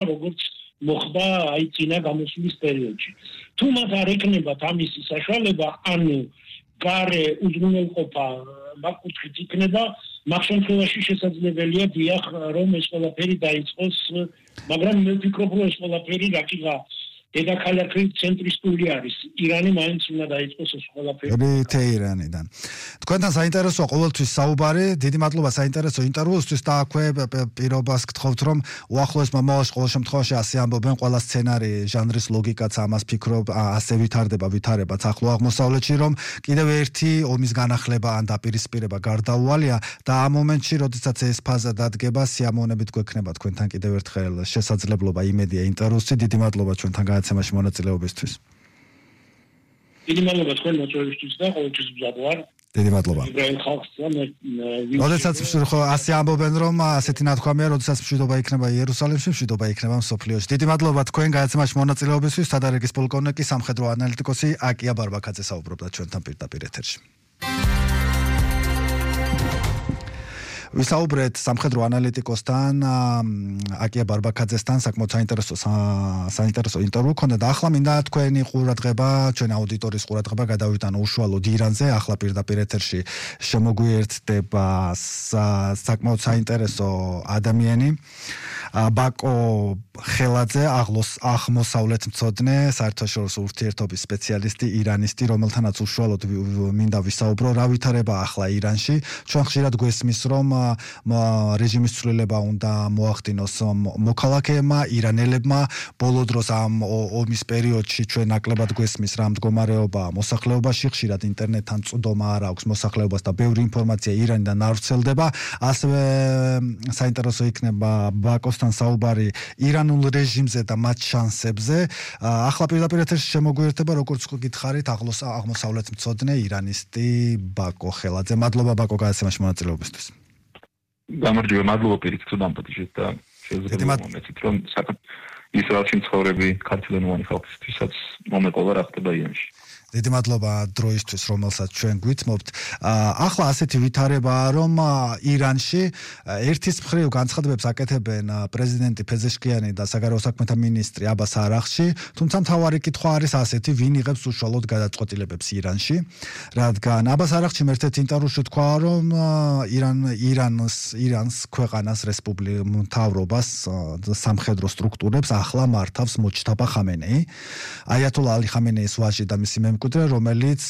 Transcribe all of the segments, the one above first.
როგორც მოხდა აი წინა გამოსვლის პერიოდში. თუ მათ არ ეკნებათ ამისი საშუალება, ანუ გარე უზრუნველყოფა მაგ-კუთხით იქნება, მაგ შემთხვევაში შესაძლებელია დიახ რომ ეს ყველაფერი დაიწყოს, მაგრამ მე ვფიქრობ რომ ეს ყველაფერი რაკიღა დედაქალაქი ცენტრისტული არის. ირანი მაინც უნდა დაიწყოს ეს ყველაფერი. თეირანიდან. თქვენთან საინტერესოა ყოველთვის საუბარი. დიდი მადლობა საინტერესო ინტერვიუსთვის და აქვე პირობას გთხოვთ რომ უახლოეს მომავალში ყოველ შემთხვევაში ასე ამბობენ ყველა სცენარი ჟანრის ლოგიკაც ამას ფიქრობ ასე ვითარებაც ახლო აღმოსავლეთში რომ კიდევ ერთი ომის განახლება ან დაპირისპირება გარდაუვალია და ამ მომენტში როდესაც ეს ფაზა დადგება სიამოვნებით გვექნება თქვენთან კიდევ ერთხელ შესაძლებლობა იმედია ინტერვიუსში. დიდი მადლობა ჩვენთან განაცემაში მონაწილეობისთვის. დიდი მადლობა თქვენ მოწვევისთვის და ყოველთვის მზად ვარ. დიდი მადლობა. როდესაც ასე ამბობენ რომ ასეთი ნათქვამია, როდესაც მშვიდობა იქნება იერუსალიმში, მშვიდობა იქნება მსოფლიოში. დიდი მადლობა თქვენ განაცემაში მონაწილეობისთვის. თადარიგის პოლკოვნიკი, სამხედრო ანალიტიკოსი აკია ბარბაქაძე საუბრობდა ჩვენთან პირდაპირ ეთერში. ვისაუბრეთ სამხედრო ანალიტიკოსთან აკია ბარბაქაძესთან საკმაოდ საინტერესო ინტერვიუ ქონდა და ახლა მინდა თქვენი ყურადღება, ჩვენი აუდიტორიის ყურადღება გადავიტანო უშუალოდ ირანზე. ახლა პირდაპირ ეთერში შემოგვიერთდება საკმაოდ საინტერესო ადამიანი ბაკო ხელაძე, აღმოსავლეთმცოდნე, საერთაშორისო ურთიერთობის სპეციალისტი, ირანისტი, რომელთანაც უშუალოდ მინდა ვისაუბრო რა ვითარება ახლა ირანში. ჩვენ ხშირად გვესმის რომ რეჟიმის ცვლილება უნდა მოახდინოს მოქალაქეებმა, ირანელებმა. ბოლო დროს ამ ომის პერიოდში ჩვენ ნაკლებად გვესმის რა მდგომარეობა მოსახლეობაში, ხშირად ინტერნეტთან წვდომა არ აქვს მოსახლეობას და ბევრი ინფორმაცია ირანიდან არ ვრცელდება. ასევე საინტერესო იქნება ბაკოსთან საუბარი ირანულ რეჟიმზე და მათ შანსებზე. ახლა პირდაპირ ეთერში შემოგვიერთება, როგორც გითხარით, აღმოსავლეთმცოდნე ირანისტი ბაკო ხელაძე. მადლობა ბაკო განაცემაში მონაწილეობისთვის. გამარჯობა, მადლობა პირიქით დამპატიჟეთ და შეიძლება მომეცით რომ ისრაელში მცხოვრები ქართველი ხალხისთვისაც მომეყოლა რა ხდება ირანში. დიდი მადლობა დროისთვის, რომელსაც ჩვენ გვითმობთ. ახლა ასეთი ვითარებაა, რომ ირანში ერთის მხრივ განცხადებებს აკეთებენ პრეზიდენტი ფეზეშკიანი და საგარეო საქმეთა მინისტრი აბას არახში, თუმცა მთავარი კითხვა არის ასეთი, ვინ იღებს უშუალოდ გადაწყვეტილებებს ირანში, რადგან აბას არახში ერთ-ერთ ინტერვიუში თქვა, რომ ირანს ქვეყანას მთავრობას სამხედრო სტრუქტურებს ახლა მართავს მოჯთაბა ხამენეი, აიათოლა ალი ხამენეის ვაჟი და მისი რომელიც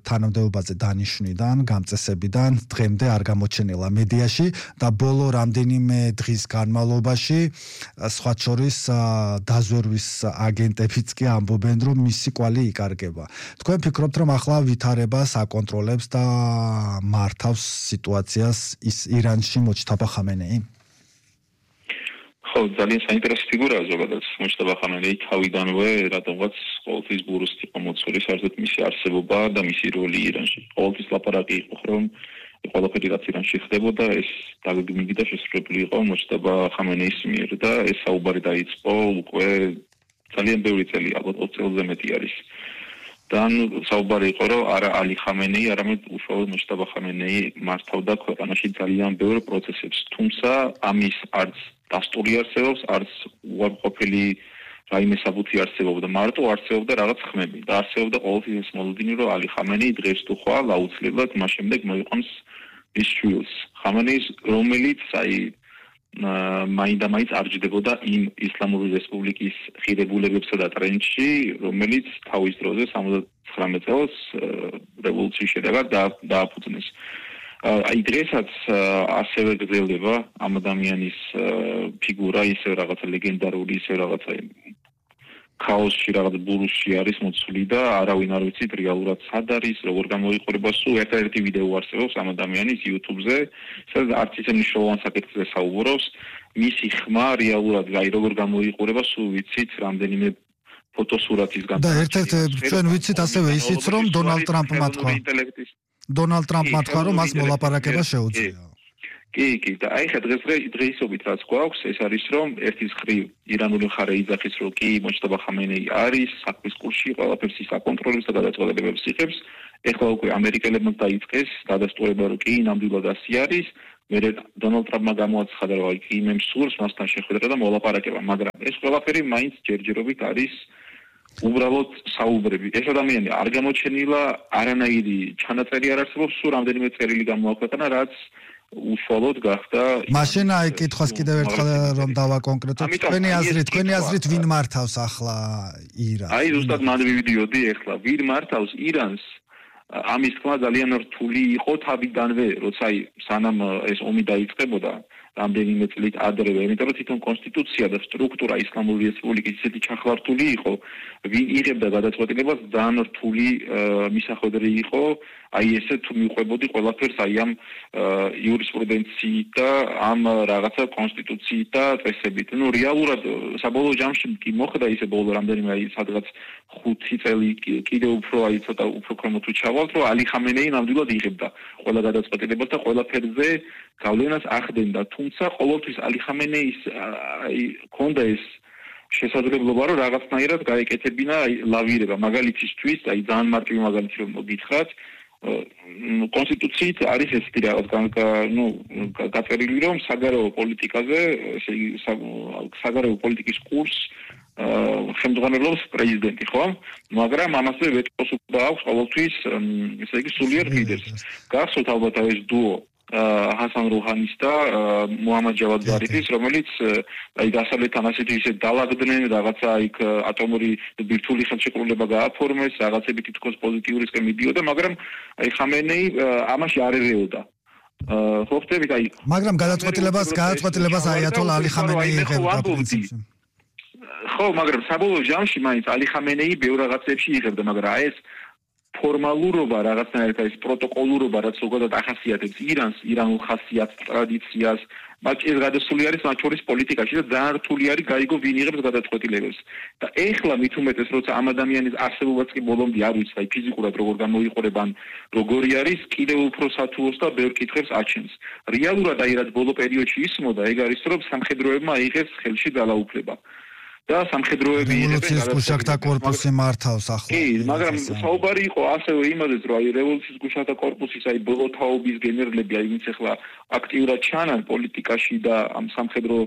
თანამდებობაზე დანიშვნიდან, გამწესებიდან დღემდე არ გამოჩენილა მედიაში და ბოლო რამდენიმე დღის განმავლობაში სხვა შორის დაზვერვის აგენტებიც კი ამბობენ, რომ მისი კვალი იკარგება. თქვენ ფიქრობთ, რომ ახლა ვითარებას აკონტროლებს და მართავს სიტუაციას ის ირანში მოჯთაბა ხამენეი? ხო, ძალიან საინტერესო ფიგურაა ზოგადად მოჯთაბა ხამენეი თავიდანვე რატომღაც ყოველთვის ბურუსით იყო მოწვეული საერთოდ მისი არსებობა და მისი როლი ირანში. ყოველთვის ლაპარაკი იყო, რომ ყველაფერი რაც ირანში ხდებოდა, ეს დაგეგმილი და შესრულებული იყო მოჯთაბა ხამენეის მიერ და ეს საუბარი დაიწყო უკვე ძალიან ბევრი წელი, ალბათ 20 წელზე მეტი არის. და საუბარი იყო, რომ არა ალი ხამენეი, არამედ უშუალოდ მოჯთაბა ხამენეი მართავდა ქვეყანაში ძალიან ბევრ პროცესებს. თუმცა ამის არც დასტური არსებობს, არც უარყოფილი რაიმე საბუთი არსებობდა, მარტო არსებობდა რაღაც ხმები და არსებობდა ყოველთვის ეს მოლოდინი, რომ ალი ხამენეი დღეს თუ ხვალ აუცილებლად მას შემდეგ მოიყვანს ის შვილს. ხამენეის, რომელიც მაინდა-მაინც არ ჯდებოდა იმ ისლამური რესპუბლიკის ღირებულებებსა და ტრენდში, რომელიც თავის დროზე 79 წელს რევოლუციის შედეგად დააფუძნეს. აი დღესაც ასევე გრძელდება ამ ადამიანის ფიგურა, ისე რაღაცა ლეგენდარული, ისე რაღაცა ქაოსში, რაღაც ბურუსში არის მოცული და არავინ არ ვიცით რეალურად სად არის, როგორ გამოიყურება. სულ ერთ-ერთი ვიდეო არსებობს ამ ადამიანის YouTube-ზე, სადაც არც ისე მნიშვნელოვან საკითხზე საუბრობს. მისი ხმა რეალურად როგორ გამოიყურება, სულ ვიცით რამდენიმე ფოტოსურათის და ერთ-ერთ ჩვენ ვიცით ასევე ისიც, რომ დონალდ ტრამპმა თქვა, რომ მას მოლაპარაკება შეუძლია. კი, და აი ხა დღეისობით რაც გვაქვს, ეს არის რომ ერთის მხრივ ირანული მხარე იძახის, რომ კი მოჯთაბა ხამენეი არის საქმის კურსში, ყველაფერს ის აკონტროლებს და გადაწყვეტილებებს იღებს. ეხლა უკვე ამერიკელებმა დაიწყეს დადასტურება, რომ კი ნამდვილად ასე არის, მე დონალდ ტრამპმა გამოაცხადა რომ იქ იმებს სურს მასთან შეხვედრა და მოლაპარაკება, მაგრამ ეს ყველაფერი მაინც ჯერჯერობით არის უბრალოდ საუბრები. ეს ადამიანი არ გამოჩენილა, არანაირი ჩანაწერი არ არსებობს, სულ რამდენიმე წერილი გამოაქვეყნა, რაც უშუალოდ გახდა. მაშინ აი კითხვას კიდევ ერთხელ რომ დავაკონკრეტოთ. თქვენი აზრით ვინ მართავს ახლა ირანს? აი ზუსტად მან ვივიდიოდი ახლა, ვინ მართავს ირანს? ამის თქმა ძალიან რთული იყო თავიდანვე, როცა სანამ ეს ომი დაიწყებოდა, რამდენიმე წლით ადრევე, იმიტომ რომ თვითონ კონსტიტუცია და სტრუქტურა ისლამური რესპუბლიკის ისეთი ჩახლართული იყო, ვინ იღებდა გადაწყვეტილებას, ძალიან რთული მისახვედრი იყო, აი ესე თუ მიყვებოდი ყველაფერს აი ამ იურისპრუდენციით და ამ რაღაცა კონსტიტუციით და წესებით. ნუ რეალურად საბოლოო ჯამში კი მოხდა ისე ბოლო რამდენიმე აი სადღაც 5 წელი კიდევ უფრო აი ცოტა უფრო ქრომოთ ჩავალთ, რომ ალი ხამენეი ნამდვილად იღებდა ყველა გადაწყვეტილებას და ყველაფერზე გავლენას ახდენდა. თუმცა ყოველთვის ალი ხამენეის აი ქონდა ეს შესაძლებლობა რომ რაღაცნაირად გაეკეთებინა აი ლავირება. მაგალითისთვის, აი ძალიან მარტივი მაგალითი რომ გითხრათ, კონსტიტუციით არის ესეთი რაღაც გაწერილი რომ საგარეო პოლიტიკაზე, ესე იგი საგარეო პოლიტიკის კურსს ხელმძღვანელობს პრეზიდენტი, ხო? მაგრამ ამასვე ვეტოს უკვე აქვს ყოველთვის, ესე იგი სულიერ ლიდერს. გახსოვთ ალბათ ეს დუო ჰასან როჰანის და მუჰამად ჯავად ზარიფის, რომელიც აი დასავლეთთან ასეთი ისე დაალაგდნენ, რაღაცა იქ ატომური ბირთვული ხელშეკრულება გააფორმეს, რაღაცები თითქოს პოზიტიურისკენ მიდიოდა, მაგრამ აი ხამენეი ამაში არ ერეოდა. ხო ხტებით აი მაგრამ გადაწყვეტილებას აიათოლა ალი ხამენეი იღებდა პრინციპში. ხო, მაგრამ საბოლოო ჯამში მაინც ალი ხამენეი ბევრ რაღაცებში იღებდა, მაგრამ აი ეს ფორმალურობა რაღაცნაირად ეს პროტოკოლურობა რაც ზოგადად ახასიათებს ირანს, ირანულ ხასიათს, ტრადიციას, მათ ეს გადასული არის მათ შორის პოლიტიკაში და ძალიან რთული არის გაიგო ვინ იღებს გადაწყვეტილებებს. და ეხლა მით უმეტეს როცა ამ ადამიანის არსებობაც კი ბოლომდე არ ვიცი, აი ფიზიკურად როგორ გამოიყურება ან როგორი არის, კიდევ უფრო სათულოს და ბევრ კითხვებს აჩენს. რეალურად აი რაც ბოლო პერიოდში ისმოდა, ეგ არის რომ სამხედროებმა აიღეს ხელში ძალაუფლება. და სამხედროები რევოლუციის გუშაკთა კორპუსი მართავს ახლა. კი, მაგრამ საუბარი იყო ასევე იმაზეც, რომ აი რევოლუციის გუშაკთა კორპუსის აი ბოლო თაობის გენერლები, აი ვინც ახლა აქტიურად ჩანან პოლიტიკაში და ამ სამხედრო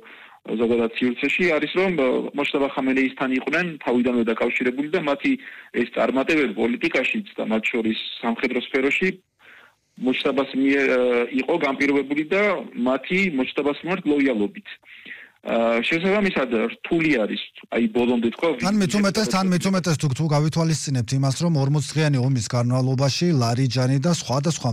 ზოგადად სივრცეში არის რომ მოშტაბა ხამენეისთან იყვნენ თავიდანვე დაკავშირებული და მათი ეს წარმატებები პოლიტიკაშიც და მათ შორის სამხედრო სფეროში მოშტაბას იყო განპირობებული და მათი მოშტაბას მიმართ ლოიალობით. შესაბამისად რთული არის აი ბოლომდე თქვა თან მეცუმეტეს თუ გავითვალისწინებთ იმას რომ 40 დღიანი ომის განმავლობაში ლარიჯანი და სხვადასხვა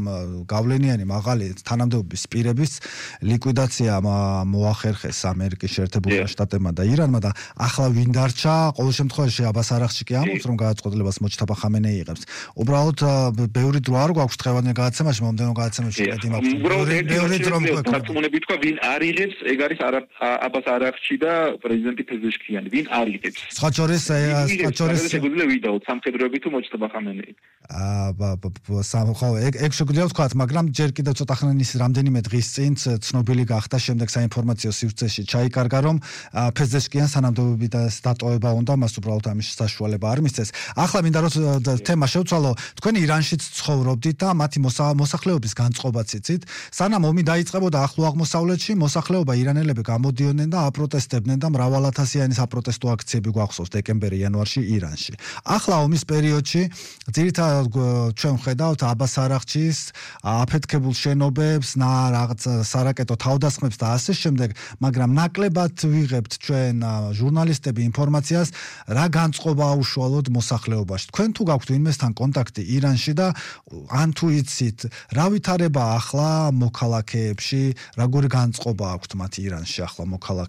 გავლენიანი მაღალი თანამდებობის პირების ლიკვიდაცია მოახერხეს ამერიკის შეერთებულ შტატებმა და ირანმა და ახლა ვინ დარჩა ყოველ შემთხვევაში აბას არახში კი ამბობს რომ გადაწყვეტილებას მოჩტაბა ხამენეი იღებს უბრალოდ ბევრი დრო არ გვაქვს დღევანდელ გადაცემაში მომდევნო გადაცემებში ბევრი დრო მქონდა თქვა ვინ არ იღებს ეგ არის არახში და პრეზიდენტი ფეზეშკიანი ვინ არიგებს სხვაჩორის შეგვიძლია ვიდაოთ სამხედროები თუ მოჩტობა ხამენეი ეგ შეგვიძლია ვთქვათ მაგრამ ჯერ კიდევ ცოტა ხნის რამდენიმე დღის წინ ცნობილი გახდა შემდეგ საინფორმაციო სივრცეში ჩაიკარგა რომ ფეზეშკიანს თანამდებობიდან დატოვება უნდა მას უბრალოდ ამის საშუალება არ მისცეს ახლა მინდა რომ თემა შევცვალო თქვენ ირანშიც ცხოვრობდით და მათი მოსახლეობის განწყობაც იცით სანამ ომი დაიწყებოდა ახლო აღმოსავლეთში მოსახლეობა ირანელები გამოდიოდნენ და აპროტესტებდნენ და მრავალათასიანი საპროტესტო აქციები გვახსოვს დეკემბერ-იანვარში ირანში. ახლა ომის პერიოდში ძირითადად ჩვენ ვხედავთ აბას არახჩის აფეთქებულ შენობებს, რაღაც სარაკეტო თავდასხმებს და ასე შემდეგ, მაგრამ ნაკლებად ვიღებთ ჩვენ ჟურნალისტები ინფორმაციას, რა განწყობა უშუალოდ მოსახლეობაში. თქვენ თუ გაქვთ ვინმესთან კონტაქტი ირანში და ან თუ იცით, რა ვითარება ახლა მოქალაქეებში, როგორი განწყობა აქვთ მათ ირანში ახლა მოქალაქეებს?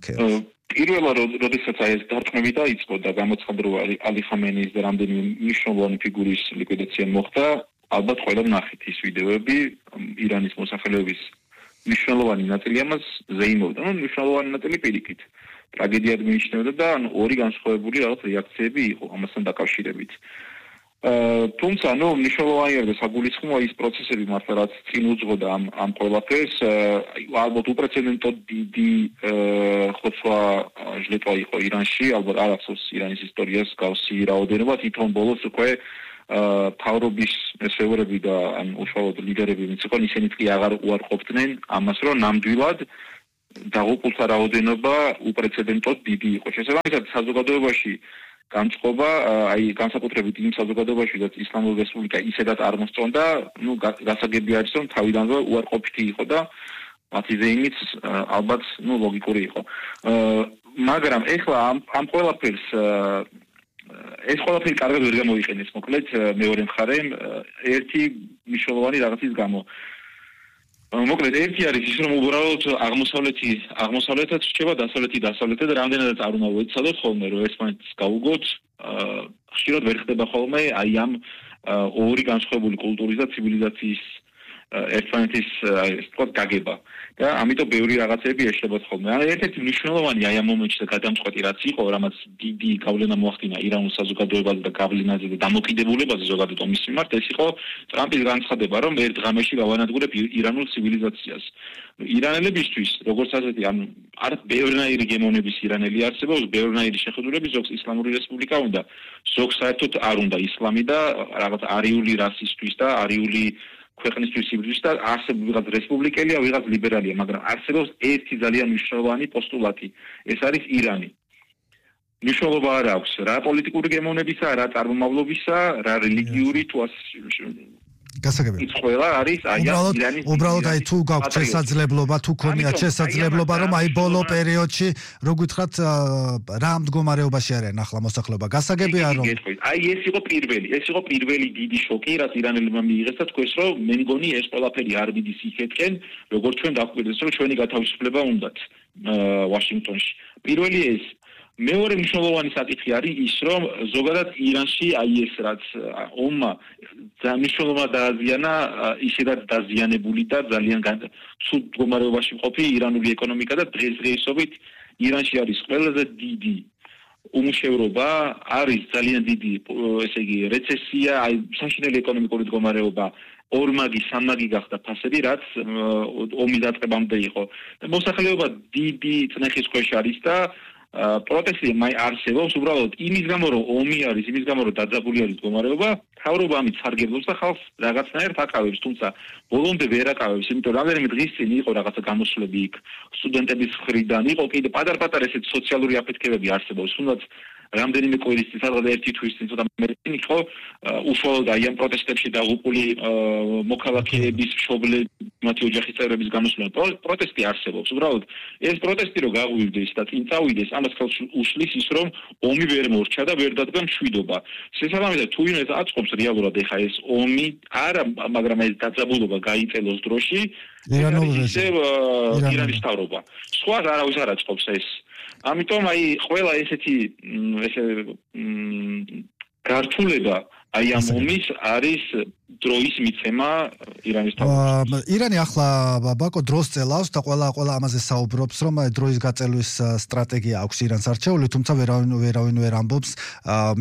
პირველად როდესაც აი ეს დარტყმები დაიწყო და გამოცხადდა ალი ხამენეის და რამდენიმე მნიშვნელოვანი ფიგურის ლიკვიდაცია მოხდა, ალბათ ყველა ნახეთ ის ვიდეოები ირანის მოსახლეობის მნიშვნელოვანი ნაწილი ამას ზეიმობდა, მნიშვნელოვანი ნაწილი პირიქით. ტრაგედიად მიიჩნევდა და ორი განსხვავებული რაღაც რეაქციები იყო ამასთან დაკავშირებით. თუმცა მნიშვნელოვანი არის საგულისხმოა ის პროცესები მართლა რაც წინ უძღოდა ამ ყველაფერს ალბათ უპრეცედენტო დიდი ხოცვა ჟლეტვა იყო ირანში ალბათ არ ახსოვს ირანის ისტორიას გავსი რაოდენობა თვითონ ბოლოს უკვე თავრობის მესეურები და ან უშუალოდ ლიდერები ვინც იყო ისინიც კი აღარ უარყოფდნენ ამას რომ ნამდვილად დაღუპულთა რაოდენობა უპრეცედენტოდ დიდი იყო. შესაბამისად საზოგადოებაში განწყობა, აი განსაკუთრებით იმ საზოგადოებაში, რაც ისლამური რესპუბლიკა ისედაც არ მოსწონდა, გასაგები არის რომ თავიდანვე უარყოფითი იყო და მათი ზეიმიც ალბათ ლოგიკური იყო. მაგრამ ეხლა ამ ყველაფერს ეს ყველაფერი კარგად ვერ გამოიყენეს, მოკლედ მეორე მხარემ ერთი მნიშვნელოვანი რაღაცის გამო. მოკლედ ერთი არის ის რომ უბრალოდ აღმოსავლეთაც რჩება დასავლეთად და რამდენადაც არ უნდა ვეცადოთ ხოლმე რომ ერთმანეთს გავუგოთ ხშირად ვერ ხდება ხოლმე აი ამ ორი განსხვავებული კულტურის და ცივილიზაციის ერთმანეთის ეს გაგება და ამიტომ ბევრი რაღაცები ეშლებათ ხოლმე. ერთ-ერთი მნიშვნელოვანი აი ამ მომენტში და გადამწყვეტი რაც იყო, რამაც დიდი გავლენა მოახდინა ირანულ საზოგადოებაზე და გავლენაზე და დამოკიდებულებაზე ზოგადად ომის მიმართ, ეს იყო ტრამპის განცხადება, რომ ერთ ღამეში გავანადგურებ ირანულ ცივილიზაციას. ირანელებისთვის, როგორც ასეთი, ანუ არ ბევრნაირი გემოვნების ირანელი არსებობს, ბევრნაირი შეხედულების, ზოგს ისლამური რესპუბლიკა უნდა, ზოგს საერთოდ არ უნდა ისლამი და რაღაც არიული რასისტვის და არიული ქვეყნისთვის იბრძვის და არსებობს ვიღაც რესპუბლიკელია, ვიღაც ლიბერალია, მაგრამ არსებობს ერთი ძალიან მნიშვნელოვანი პოსტულატი. ეს არის ირანი. მნიშვნელობა არ აქვს რა პოლიტიკური გემოვნებისა, რა წარმომავლობისა, რა რელიგიური თუ გასაგებია. ის ყველა არის აი ირანის უბრალოდ აი თუ გაქვთ შესაძლებლობა, თუ ქონიათ შესაძლებლობა, რომ აი ბოლო პერიოდში, რო გითხრათ, რა მდგომარეობაში არიან ახლა მოსახლეობა. გასაგებია რომ აი ეს იყო პირველი დიდი შოკი, რაც ირანელებმა მიიღეს და თქვენს რომ მე მგონი ეს ყველაფერი არ მიდის იქეთკენ, როგორც ჩვენ დაგვიკვირდეს რომ ჩვენი გათავისუფლება უნდათ ვაშინგტონში. პირველი ეს მეორე მნიშვნელოვანი საკითხი არის ის, რომ ზოგადად ირანში აი ეს რაც ომმა მნიშვნელობა დააზიანა, ისედაც დაზიანებული და ძალიან ცუდ მდგომარეობაში მყოფი ირანული ეკონომიკა და დღესდღეობით ირანში არის ყველაზე დიდი უმუშევრობა, არის ძალიან დიდი, ესე იგი, რეცესია, აი საშინელი ეკონომიკური მდგომარეობა, ორმაგი, სამმაგი გახდა ფასები, რაც ომის დაწყებამდე იყო. და მოსახლეობა დიდი წნეხის ქვეშ არის და პროტესტი არსებობს უბრალოდ იმის გამო რომ ომი არის, იმის გამო რომ დაძაბული არის მდგომარეობა, თავრობა ამით სარგებლობს და ხალხს რაღაცნაირად აკავებს, თუმცა ბოლომდე ვერ აკავებს, იმიტომ რამდენიმე დღის წინ იყო რაღაცა გამოსვლები იქ სტუდენტების მხრიდან, იყო კიდე პატარ-პატარა ესეთ სოციალური აფეთქებები არსებობს, თუნდაც რამდენიმე კვირის წინ, სადღაც ერთი თვის წინ ცოტა მეტი იყო უშუალოდ აი ამ პროტესტებში დაღუპული მოქალაქეების მშობლები, მათი ოჯახის წევრების გამოსვლა. პროტესტი არსებობს. უბრალოდ ეს პროტესტი რო გაღვივდეს და წინ წავიდეს, ამას ხელს უშლის ის, რომ ომი ვერ მორჩა და ვერ დადგა მშვიდობა. შესაბამისად, თუ ვინმე აწყობს რეალურად ეხა ეს ომი, არა, მაგრამ ეს დაძაბულობა გაიწელოს დროში, ირანის თავრობა. სხვა არავის არ აწყობს ეს. ამიტომ აი ყველა ესეთი გართულება აი ამ ომის არის დროის მიცემა ირანის თავრობას. ირანი ახლა ბაკო დროს წელავს და ყველა ამაზე საუბრობს, რომ დროის გაწელვის სტრატეგია აქვს ირანს არჩეული, თუმცა ვერავინ ვერ ამბობს,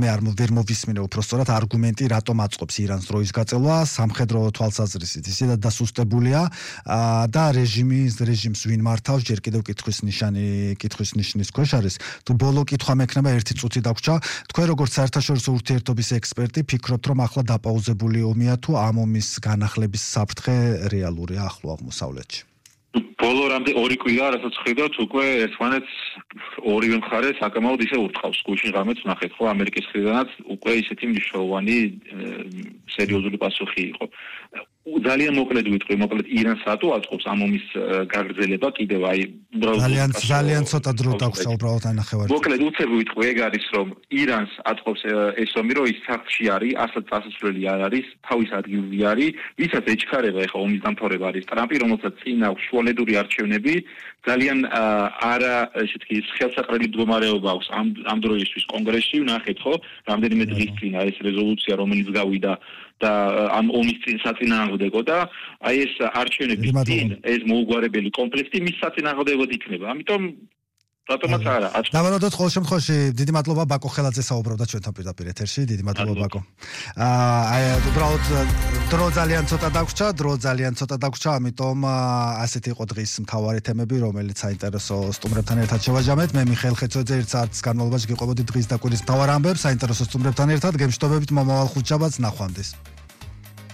მე ვერ მოვისმინე უბრალოდ არგუმენტი, რატომ აწყობს ირანს დროის გაწელვა, სამხედრო თვალსაზრისით. ისედაც დასუსტებულია და რეჟიმს ვინ მართავს, ჯერ კიდევ კითხვის ნიშნის ქვეშ არის. თუ ბოლო კითხვა მექნება ერთი წუთი დაგვრჩა, თქვენ როგორც საერთაშორისო ურთიერთობის ექსპერტი ფიქრობთ, რომ ახლა დაპაუზებული ომია თუ ამ ომის განახლების საფრთხე რეალურია ახლო აღმოსავლეთში? ბოლო რამდენი ორი კვირა, რასაც ხედავთ, უკვე ერთმანეთს ორივე მხარე საკმაოდ ისე ურტყავს. გუშინ ღამეც ნახეთ, ხო, ამერიკის მხრიდანაც უკვე ისეთი მნიშვნელოვანი სერიოზული პასუხი იყო. ძალიან მოკლედ ვიტყვი, ირანს რატო აწყობს ამ ომის გაგრძელება კიდევ აი ძალიან ცოტა დრო დაგვსა უბრალოდ აი ნახევარი. მოკლედ უცებ ვიტყვი, ეგ არის რომ ირანს აწყობს ეს ომი, რომ ის სახლში არის, ასად წასასვლელი არ არის, თავის ადგილზე არის, ვისაც ეჩქარება ეხა ომის დამთავრება არის ტრამპი, რომელსაც წინ აქვს შუალედური არჩევნები, ძალიან არა ესე თქვი ხელსაყრელი მდგომარეობა აქვს ამ დროისთვის კონგრესში, ნახეთ ხო, რამდენიმე დღის წინ ეს რეზოლუცია რომელიც გავიდა და ამ ომის საწინააღმდეგო და აი ეს არჩევნების წინ ეს მოუგვარებელი კონფლიქტი მის საწინააღმდეგოდ იქნება. ამიტომ რატომაც არა. დავაროდოთ ყოველ შემთხვევაში დიდი მადლობა ბაკო ხელაძე საუბრობდა ჩვენთან პირდაპირ ეთერში. დიდი მადლობა ბაკო. უბრალოდ დრო ძალიან ცოტა დაგვრჩა, ამიტომ ასეთი იყო დღის მთავარი თემები, რომელიც საინტერესო სტუმრებთან ერთად შევაჯამეთ. მე მიხეილ ხეცოძე ერთ საათის განმავლობაში გიყვებოდი დღის და კვირის მთავარ ამბებს საინტერესო სტუმრებთან ერთად. გემშვიდობებით მომავალ ხუთშაბათს ნახვამდის.